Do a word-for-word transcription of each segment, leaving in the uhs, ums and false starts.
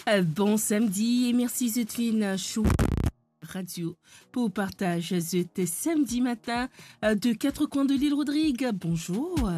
Euh, bon samedi et merci Zotfin Show Radio pour partage zot samedi matin, euh, de quatre coins de l'île Rodrigue. Bonjour.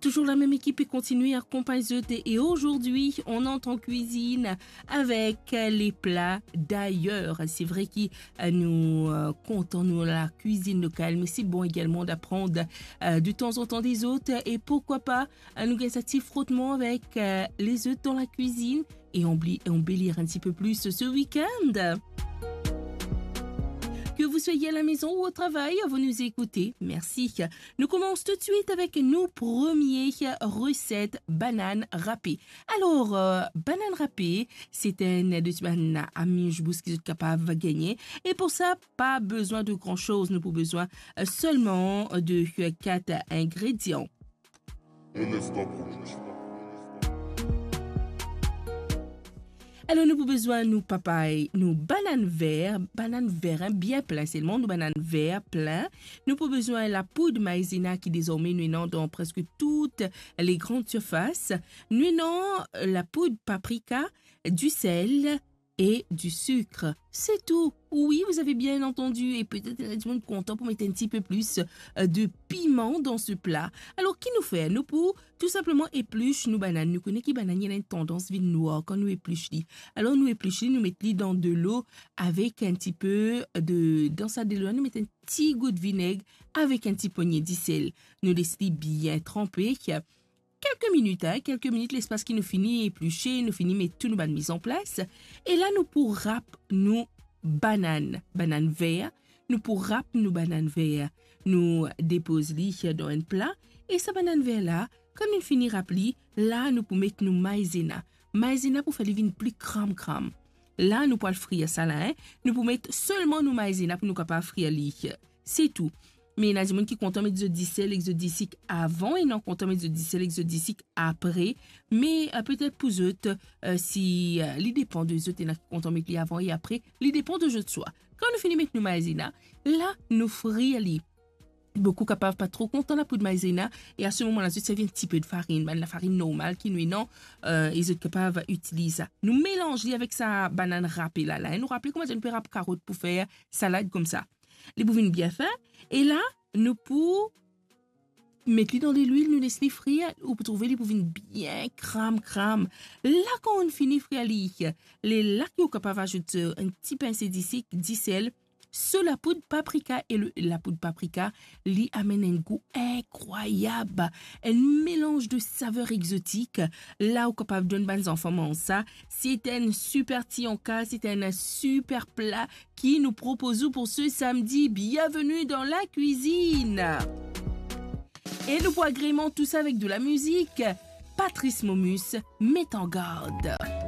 Toujours la même équipe et continue à accompagner zot. Et aujourd'hui, on entre en cuisine avec, euh, les plats d'ailleurs. C'est vrai que, euh, nous, euh, comptons, nous, la cuisine locale, mais c'est bon également d'apprendre, euh, de temps en temps des autres. Et pourquoi pas, euh, nous gagner un petit frottement avec, euh, les autres dans la cuisine et embellir, embellir un petit peu plus ce week-end. Que vous soyez à la maison ou au travail, vous nous écoutez. Merci. Nou koumans toutswit avek nou premie reset, banann rape. Alor, euh, banann rape, se enn de bann amuse-bouche ki zot kapav gagne. E pou sa, pa bezwin de gran soz. Nou pou bezwin, euh, selman de, euh, kat ingredian. Alor, nou pou bezwin nou papay, nou banann ver, banann ver, hein, bien plin selman, nou banann ver plin. Nou pou bezwin lapoud maizena ki dezorme nou ena dan preske tout le gran sirfas. Nou ena lapoud paprika, du sel e du sik. Se tou. Oui, vous avez bien entendu. E petet ena dimoun kontan pou met un petit peu plus, euh, de piman dan se pla. Alor, ki nou fer? Nou pou tou sinpleman eplis nou banann. Nou kone ki banann ena enn tandans vinn nwar kan nou eplis li. Alor, nou eplis li, nou met li dan delo avek un petit peu de, dan sa delo la, nou met enn ti gout vineg avek enn ti pogne disel. Nou les li bien tranpe. Kelke minit, hein, kelke minit, lespas ki nou fini eplise, nou fini met tou nou bann mizanplas. E la, nou pou rap nou banann, banann ver. Nou pou rap nou banann ver. Nou depoz li dan enn pla. E sa banann ver la, kan nou fini rap li, la, nou pou met nou maizena. Maizena pou fer li vinn pli kram-kram. La, nou pou al frir sa la, hein. Nou pou met selman nou maizena pou nou kapav frir li. Se tou. Me ena dimoun ki kontan met zot disel ek zot disik avan, ena kontan met zot disel ek zot disik apre. Me, euh, petet pou zot, euh, si, euh, li depan de zot, ena ki kontan met li avan e apre, li depan de zot swa. Kan nou fini met nou maizena, la, nou frir li. Boukou kapav pa tro kontan lapoud maizena, e a se moman la, zot servi enn tipe de farinn, bann lafarinn normal ki nou ena, euh, e zot kapav itiliz sa. Nou melanz li avek sa banann rape la, la, hein. Nou rapel kouma nou pe rap karot pou fer salad koumsa. Li pou vinn bien fin. E la, nou pou met li dan delwil, nou les li frir, ou pou trouve li pou vinn bien kram-kram. La, kan ou fini frir li, lerla ki ou kapav azout, euh, enn ti pinse disik, disel, so lapoud paprika, e le, lapoud paprika, li amenn enn gou inkrwayab, enn melanz de saver exotik. La, ou kapav donn bann zanfan manz sa. Se enn siper tianka, se enn siper pla ki nou propoz ou pou se samedi. Bienvenue dans la cuisine. E nou pou agreman tou sa avek de la mizik. Patrice Momus, Met an gard.